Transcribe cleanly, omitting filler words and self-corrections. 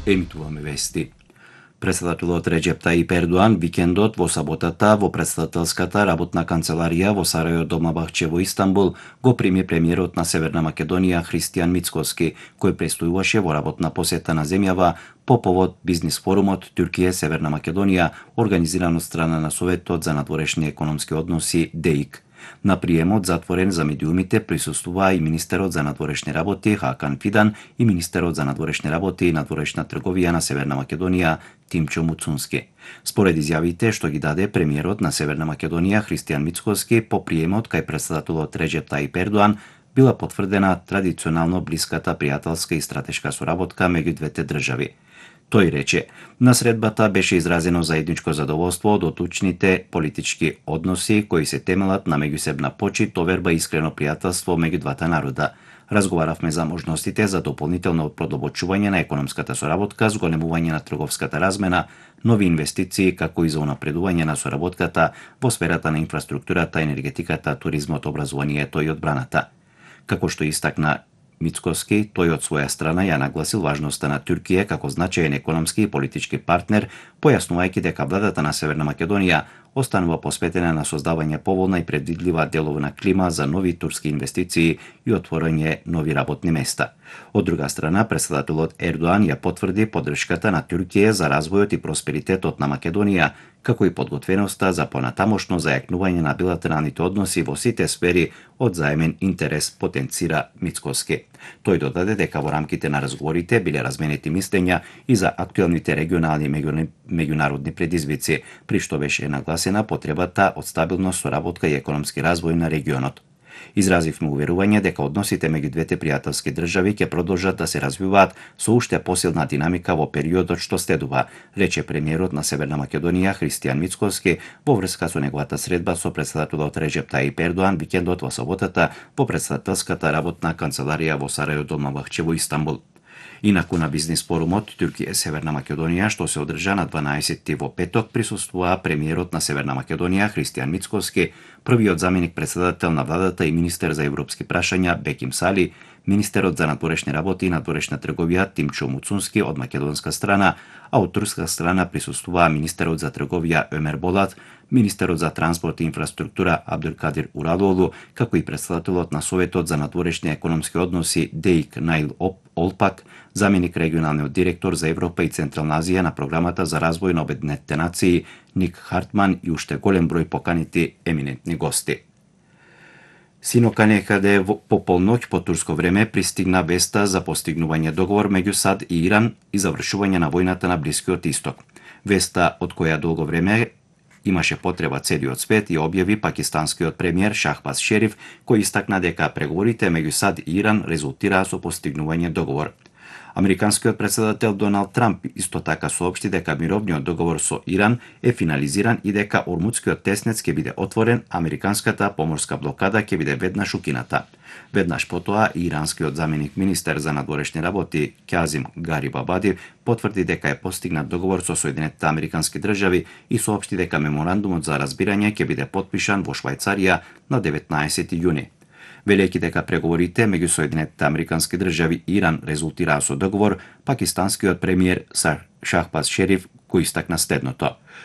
Емитуваме вести. Председателот Реџеп Тајип Ердоан викендот во саботата во претседателската работна канцеларија во Сарајо Долмабахче во Истанбул го прими премиерот на Северна Македонија Христијан Мицкоски, кој престојуваше во работна посета на земјава по повод бизнис форумот Туркија Северна Македонија, организиран од страна на Советот за надворешни економски односи ДЕИК. На приемот затворен за медиумите присуствуваа и министерот за надворешни работи Хакан Фидан и министерот за надворешни работи и надворешна трговија на Северна Македонија Тимчо Муцунски. Според изјавите што ги даде премиерот на Северна Македонија Христијан Мицкоски по приемот кај председателот Реџеп Тајип Ердоан била потврдена традиционално блиската пријателска и стратешка соработка меѓу двете држави. Тој рече, на средбата беше изразено заедничко задоволство од одлучните политички односи кои се темелат на меѓусебна почит, доверба и искрено пријателство меѓу двата народа. Разговаравме за можностите за дополнително продолбочување на економската соработка, зголемување на трговската размена, нови инвестиции, како и за унапредување на соработката во сферата на инфраструктурата, енергетиката, туризмот, образованието и одбраната. Како што истакна Мицкоски, тој од своја страна ја нагласил важноста на Туркија како значаен економски и политички партнер, појаснувајќи дека владата на Северна Македонија останува посветена на создавање поволна и предвидлива деловна клима за нови турски инвестиции и отворање нови работни места. Од друга страна, председателот Ердоан ја потврди поддршката на Туркија за развојот и просперитетот на Македонија, како и подготвеноста за понатамошно зајакнување на билатералните односи во сите сфери од заемен интерес, потенцира Мицкоски. Тој додаде дека во рамките на разговорите биле разменети мислења и за актуелните регионални и меѓународни предизвици, при што беше нагласена потребата од стабилна соработка и економски развој на регионот. Изразивме уверување дека односите меѓу двете пријателски држави ќе продолжат да се развиваат со уште посилна динамика во периодот што следува, рече премиерот на Северна Македонија Христијан Мицкоски во врска со неговата средба со председателот Реџеп Тајип Ердоан викендот во саботата во претседателската работна канцеларија во Сарајо Долмабахче во Истанбул. Инаку на бизнис форумот Туркија Северна Македонија што се одржа на 12 во петок присуствуваа премиерот на Северна Македонија Христијан Мицкоски, првиот заменик председател на владата и министер за европски прашања Беким Сали, министерот за надворешни работи и надворешна трговија Тимчо Муцунски од македонска страна, а од турска страна присуствуваа министерот за трговија Өмер Болат, министерот за транспорт и инфраструктура Абдулкадир Уралоглу, како и председателот на Советот за надворешни економски односи ДЕИК Наил Олпак, заменик регионалниот директор за Европа и Централна Азија на програмата за развој на Обединетите нации Ник Хартман и уште голем број поканети еминентни гости. Синока некаде по полноќ по турско време пристигна веста за постигнување договор меѓу САД и Иран и завршување на војната на Блискиот Исток. Веста од која долго време имаше потреба целиот свет и објави пакистанскиот премиер Шахбаз Шериф, кој истакна дека преговорите меѓу САД и Иран резултираа со постигнување договор. Американскиот председател Доналд Трамп исто така соопшти дека мировниот договор со Иран е финализиран и дека Ормудскиот теснец ќе биде отворен, американската поморска блокада ќе биде веднаш укината. Веднаш потоа иранскиот заменик министер за надворешни работи Кјазим Гарибабади потврди дека е постигнат договор со Соединетите Американски држави и соопшти дека меморандумот за разбирање ќе биде потпишан во Швајцарија на 19 јуни. Велејќи дека преговорите меѓу Соединетите Американски држави и Иран резултираа со договор, пакистанскиот премиер Шахбаз Шериф го истакна следното.